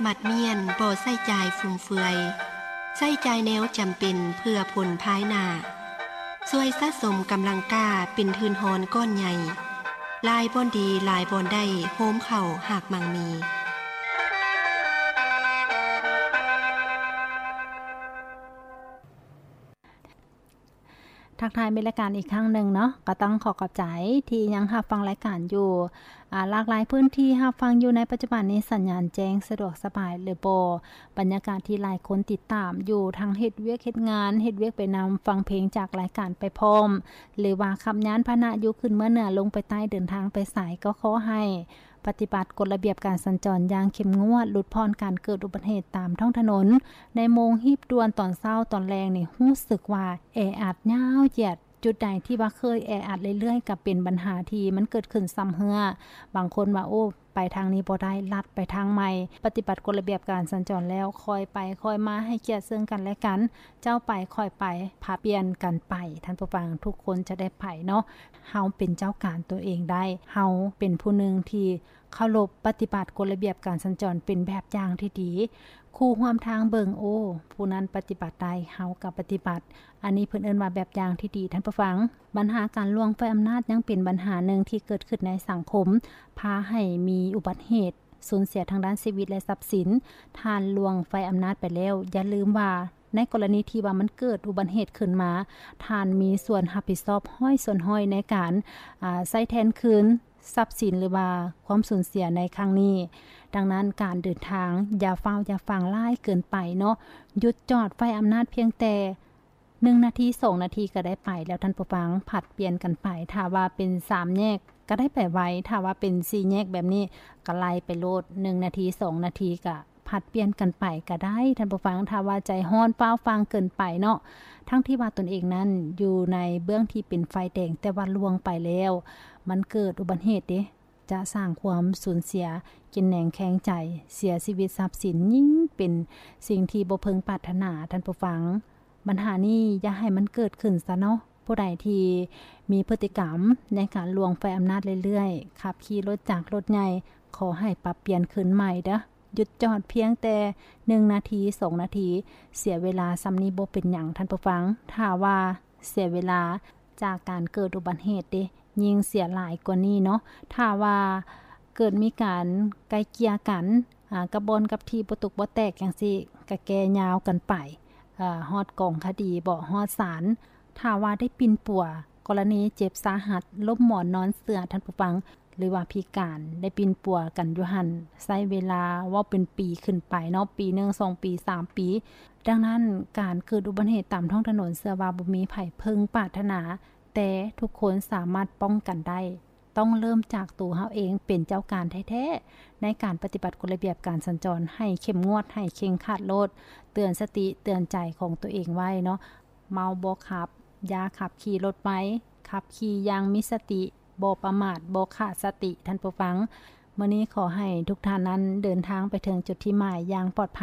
ໝັດມ້ຽນ ບໍ່ໃຊ້ຈ່າຍຟຸມເຟືອຍ, ໃຊ້ຈ່າຍແນວຈຳເປັນເພື່ອຜົນພາຍໜ້າ. ຊ່ວຍສະສົມກຳລັງກ້າເປັນທຶນຮອນກ້ອນໃຫຍ່. ຫຼາຍບ່ອນດີ ຫຼາຍບ່ອນໄດ້ ໂຮມເຂົ້າຮາກໝັ້ງມີ. ທັກທາຍມິດລາຍການອີກຄັ້ງໜຶ່ງເນາະ, ກໍຕ້ອງຂໍຂອບໃຈທີ່ຍັງຮັບຟັງລາຍການຢູ່ ອາ ຫຼາກຫຼາຍພື້ນທີ່ຮັບຟັງຢູ່ໃນປັດຈຸບັນນີ້ ສັນຍານແຈ້ງສະດວກສະບາຍຫຼືບໍ່? ບັນຍາກາດທີ່ຫຼາຍຄົນຕິດຕາມຢູ່ ທັງເຮັດວຽກເຮັດງານ, ເຮັດວຽກໄປນຳ, ຟັງເພງຈາກລາຍການໄປພ້ອມ ຫຼືວ່າຂັບຍານພາຫະນະຢູ່ຂຶ້ນເມືອເໜືອລົງໄປໃຕ້ ເດີນທາງໄປໃສ ກໍຂໍໃຫ້ ປະຕິບັດກົດລະບຽບການສັນຈອນຢ່າງເຂັ້ມງວດ, ຫຼຸດຜ່ອນການເກີດອຸບັດເຫດຕາມທ້ອງຖະໜົນ. ໃນໂມງຮີບດ່ວນຕອນເຊົ້າຕອນແລງນີ້ ຮູ້ສຶກວ່າແອອັດຍາວຢຽດ, ຈຸດໃດທີ່ວ່າເຄີຍແອອັດເລື້ອຍໆ ກໍເປັນບັນຫາທີ່ມັນເກີດຂຶ້ນຊ້ຳເຮື້ອ. ບາງຄົນວ່າ ໂອ້ ໄປທາງນີ້ບໍ່ໄດ້, ລັດໄປທາງໃໝ່. ປະຕິບັດກົດລະບຽບການສັນຈອນແລ້ວ ຄ່ອຍໄປຄ່ອຍມາ, ໃຫ້ກຽດເຊິ່ງກັນແລະກັນ, ເຈົ້າໄປຂ້ອຍໄປ, ຜັດປ່ຽນກັນໄປ. ທ່ານຜູ້ຟັງ, ທຸກຄົນຈະໄດ້ໄປເນາະ. ເຮົາເປັນເຈົ້າການຕົວເອງໄດ້, ເຮົາເປັນຜູ້ໜຶ່ງທີ່ເຄົາລົບປະຕິບັດກົດລະບຽບການສັນຈອນເປັນແບບຢ່າງທີ່ດີ. ຄູ່ຮ່ວມທາງເບິ່ງ, ໂອ້ ຜູ້ນັ້ນປະຕິບັດໄດ້, ເຮົາກໍປະຕິບັດ. ອັນນີ້ເພິ່ນເອີ້ນວ່າແບບຢ່າງທີ່ດີ, ທ່ານຜູ້ຟັງ. ບັນຫາການລ່ວງໄຟອຳນາດຍັງເປັນບັນຫາໜຶ່ງທີ່ເກີດຂຶ້ນໃນສັງຄົມ, ພາໃຫ້ມີອຸບັດເຫດ, ສູນເສຍທາງດ້ານຊີວິດ ແລະ ຊັບສິນ. ທ່ານລ່ວງໄຟອຳນາດໄປແລ້ວ, ຢ່າລືມວ່າ ໃນກໍລະນີທີ່ວ່າມັນເກີດອຸບັດເຫດຂຶ້ນມາ, ທ່ານມີສ່ວນຮັບຜິດຊອບຮ້ອຍສ່ວນຮ້ອຍໃນການ, ອາ, ໃຊ້ແທນຄືນຊັບສິນ ຫຼືວ່າຄວາມສູນເສຍໃນຄັ້ງນີ້. ດັ່ງນັ້ນ, ການເດີນທາງຢ່າຟ້າວຢ່າຟາງຫຼາຍເກີນໄປເນາະ. ຢຸດຈອດໄຟອຳນາດພຽງແຕ່ໜຶ່ງນາທີ ສອງນາທີກໍໄດ້ໄປແລ້ວ, ທ່ານຜູ້ຟັງ, ຜັດປ່ຽນກັນໄປ. ຖ້າວ່າເປັນສາມແຍກ ກໍໄດ້ໄປໄວ, ຖ້າວ່າເປັນສີ່ແຍກແບບນີ້ ກໍໄລ່ໄປໂລດ, ໜຶ່ງນາທີ ສອງນາທີກໍ ຜັດປ່ຽນກັນໄປກໍໄດ້, ທ່ານຜູ້ຟັງ. ຖ້າວ່າໃຈຮ້ອນຟ້າວຟາງເກີນໄປເນາະ, ທັງທີ່ວ່າຕົນເອງນັ້ນຢູ່ໃນເບື້ອງທີ່ເປັນໄຟແດງ, ແຕ່ວ່າລ່ວງໄປແລ້ວ ມັນເກີດອຸບັດເຫດເດ, ຈະສ້າງຄວາມສູນເສຍ ກິນແໜງແຄງໃຈ, ເສຍຊີວິດຊັບສິນ, ຍິ່ງເປັນສິ່ງທີ່ບໍ່ເພິ່ງປາດຖະໜາ, ທ່ານຜູ້ຟັງ. ບັນຫານີ້ຢ່າໃຫ້ມັນເກີດຂຶ້ນຊະເນາະ. ຜູ້ໃດທີ່ມີພຶດຕິກຳໃນການລ່ວງໄຟອຳນາດເລື້ອຍໆ, ຂັບຂີ່ລົດຈັກລົດໃຫຍ່, ຂໍໃຫ້ປັບປ່ຽນຄືນໃໝ່ເດີ້. ຢຸດຈອດພຽງແຕ່ໜຶ່ງນາທີ ສອງນາທີ, ເສຍເວລາສ່ຳນີ້ບໍ່ເປັນຫຍັງ, ທ່ານຜູ້ຟັງ. ຖ້າວ່າເສຍເວລາຈາກການເກີດອຸບັດເຫດເດ, ຍິ່ງເສຍຫຼາຍກວ່ານີ້ເນາະ. ຖ້າວ່າເກີດມີການໄກ່ເກ່ຍກັນ, ອາ, ກັບບ່ອນກັບທີ່ບໍ່ຕົກບໍ່ແຕກຈັ່ງຊີ້, ກະແກ່ຍາວກັນໄປ, ອາ, ຮອດກອງຄະດີບໍ, ຮອດສານ. ຖ້າວ່າໄດ້ປິ່ນປົວ, ກໍລະນີເຈັບສາຫັດ, ລົ້ມໝອນນອນເສື່ອ, ທ່ານຜູ້ຟັງ, ຫຼືວ່າພິການ, ໄດ້ປິ່ນປົວກັນຢູ່ຫັ້ນ, ໃຊ້ເວລາເວົ້າເປັນປີຂຶ້ນໄປເນາະ, ປີໜຶ່ງ, ສອງປີ, ສາມປີ. ດັ່ງນັ້ນ, ການເກີດອຸບັດເຫດຕາມທ້ອງຖະໜົນ, ເຊື່ອວ່າບໍ່ມີໃຜເພິ່ງປາດຖະໜາ, ແຕ່ທຸກຄົນສາມາດປ້ອງກັນໄດ້. ຕ້ອງເລີ່ມຈາກໂຕເຮົາເອງເປັນເຈົ້າການແທ້ໆ ໃນການປະຕິບັດກົດລະບຽບການສັນຈອນໃຫ້ເຂັ້ມງວດ, ໃຫ້ເຄັ່ງຄັດໂລດ, ເຕືອນສະຕິເຕືອນໃຈຂອງຕົວເອງໄວ້ເນາະ. ເມົາບໍ່ຂັບ, ຢ່າຂັບຂີ່ລົດໄວ, ຂັບຂີ່ຢ່າງມີສະຕິ, ບໍ່ປະໝາດ, ບໍ່ຂາດສະຕິ, ທ່ານຜູ້ຟັງ. ມື້ນີ້ຂໍໃຫ້ທຸກທ່ານນັ້ນເດີນທາງໄປເຖິງຈຸດທີ່ໝາຍຢ່າງປອດໄພ.